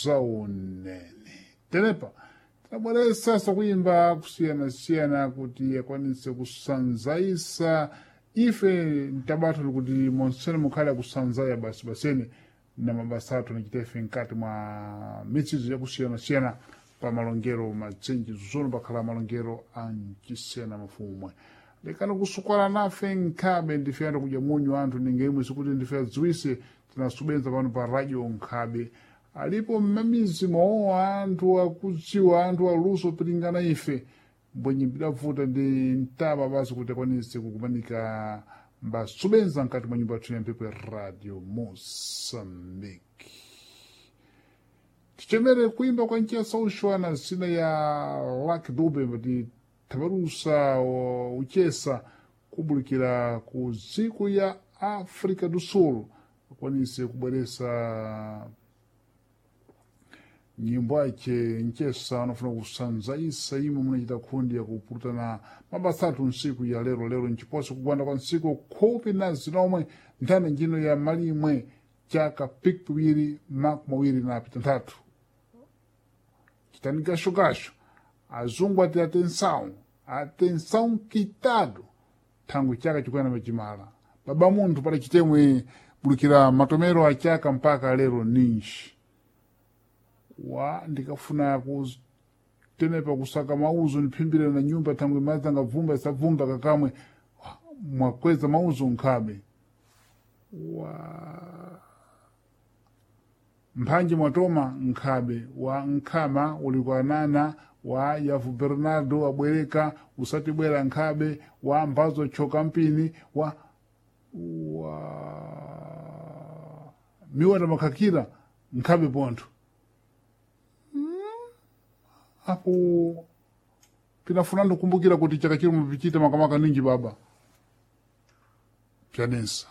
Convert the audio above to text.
Zaoneni. Tenepa tabweresa kuimba kusiyana-siyana kuti akwanise kusanzaisa ife ntabatho kuti monsene mukhale akusanzaya basi basene na mabasa athu nachita ife mkati mwa mitsizo yakusiyana-siyana pa malongero matsenji zuzono pakhala malongero ancisiyana mafumwe lekani kusukwana nafe nkhabe ndife anthu kudya munyu anthu ninga imwe sikuti ndife adziwise tinasubenza pano pa radio nkhabe alipo mmamizi mwawo anthu akudziwa anthu aluso pilingana ife mbwenye mbidavuta ndi mtaba basi kuti akwanise kukumanika mbasubenza mkati mwa nyumba yathu ya mphepo ya Radio Mosambiki. Tichemere kuimba kwa nchesa ushwana zina ya Lucky Dube kuti tabarusa uchesa kubulikira ku dziko ya Africa do Sul akwanise kubweresa nyimbo ake nchesa anafuna kusanzaisa imwe munachita khundi yakupurutana mabasa athu nsiku ya lero lero nchiposo kugwanda kwa nsiku 15 nthani njino ya malimwe chaka pikiwiri 2026 chitani gashogasho azungu ati atenção atenção kitado thangwi chaka chikuyana pachimala baba munthu pali chitemwe bulukira matomero achaka mpaka lero ninji wa ndikafuna kutenepa kusaka mauzo niphimbire na nyumba thangwi madzi angabvumba isabvumba kakamwe mwakweza mauzo nkhabe wa mphanji mwatoma nkhabe wa nkhama uli kwa nana wa yavu Bernardo abwereka usatibwera nkhabe wa mbazo choka mpini wa miwanda makhakira nkhabe pontho apo pinafuna ndikumbukira kuti chaka chino mupichita makamaka ninji baba pyanensa.